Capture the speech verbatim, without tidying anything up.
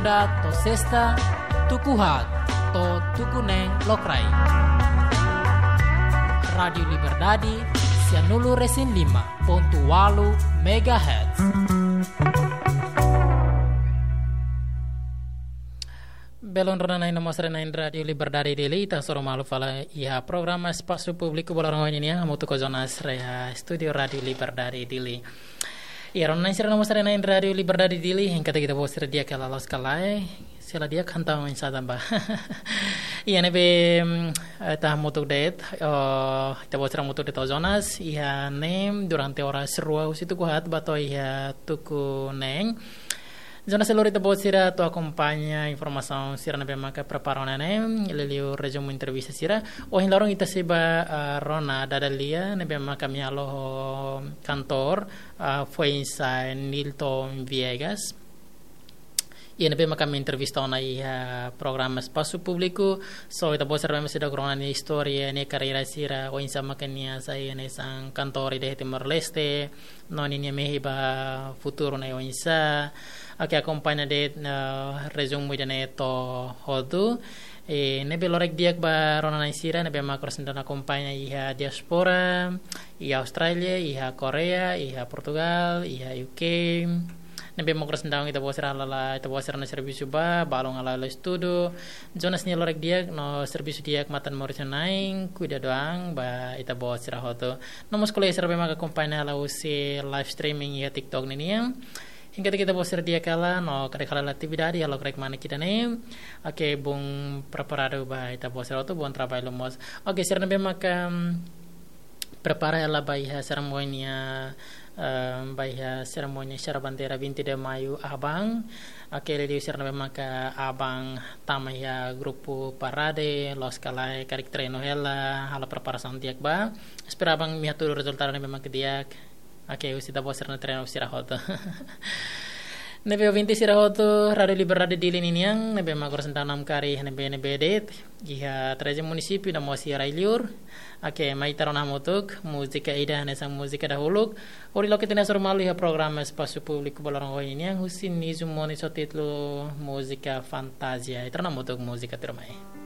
Segunda to'o sesta, tuku haat to'o tuku neen lokraik. Rádiu Liberdade, sianulu-resin-lima pontu ualu megahertz. Belun rona-na'in no mós rona-na'in Rádiu Liberdade Dili, ita hasoru malu fali iha programa Espasu Públiku ba loron ohin nian, hamutuk ho Jonas iha estúdiu Rádiu Liberdade Dili. Iha rona-na'in sira no mós rona-na'in Rádiu Liberdade Dili, hein katak ita-boot sira di'ak hela loos ka lae, se la di'ak hantang oinsá tan ba. Iha ne'ebé, mm, eh, ita hamutuk de'it, oh, ita-boot sira hamutuk de'it ho Jonas, iha ne'e durante oras rua husi tuku haat ba to'o iha tuku neen. Jonas sei lori ita-boot sira atu akompaña informasaun sira ne'ebé maka prepara ona ne'e, liuliu rezumu entrevista sira. Ohin loron ita sei ba, ah, rona dada lia ne'ebé maka ami halo ho kantór, ah, foin-sa'e Nilton Viegas. Iha ne'ebé maka ami entrevista ona iha programa Espasu Públiku. So, ita-boot sira ne'ebé maka seidauk rona nia istória, nia karreira sira, oinsá maka nia sai hanesan kantór ida iha Timor-Leste, no ninia mehi ba futuru ne'e oinsá. Oke, akompaña de'it, eh, rezumu ida-ne'e to'o hotu. Eh, ne'ebé lorokraik di'ak ba rona-na'in sira ne'ebé maka oras ne'e akompaña iha diáspora, iha Austrália, iha Koreia, iha Portugal, iha U K. Ne'ebé maka oras ne'e ita-boot sira hala'o, ita-boot sira-nia servisu ba, balun hala'o estudu. Jonas nia lorokraik di'ak no servisu di'ak matan moris na'in, kuidadu an ba ita-boot sira hotu. No mós kolega sira ne'ebé maka akompaña hela husi live streaming iha TikTok ninian. Hein katak ita-boot sira di'ak hela, no karik hala'o atividade, halo karik mana ida-ne'e. Oke, bom preparadu ba ita-boot sira hotu, bom trabalho mós. Oke, sira ne'ebé maka, mm, prepara hela ba iha serimónia, eh, ba iha serimónia Xara Bandeira vinte de Maio aban. Oke, liuliu sira ne'ebé maka aban tama iha grupu parade, loos ka lae, karik treinu hela, halo preparasaun di'ak ba. Espera aban ami hatudu rezultadu ne'ebé maka di'ak. Oke, husi ita-boot sira-nia treinu sira hotu. Ne'ebé ouvinte sira hotu, Rádiu Liberdade Dili ninian, ne'ebé maka oras ne'e namkari iha ne'ebé-ne'ebé de'it, iha treze munisípiu no mós iha rai-liur. Oke, mai ita rona hamutuk múzika ida hanesan múzika dahuluk. Hodi loke ita-nia hasoru malu iha programa Espasu Públiku ba loron ohin nian, husi Nizu Moniz ho títulu Múzika Fantázia. Ita rona hamutuk múzika tuirmai.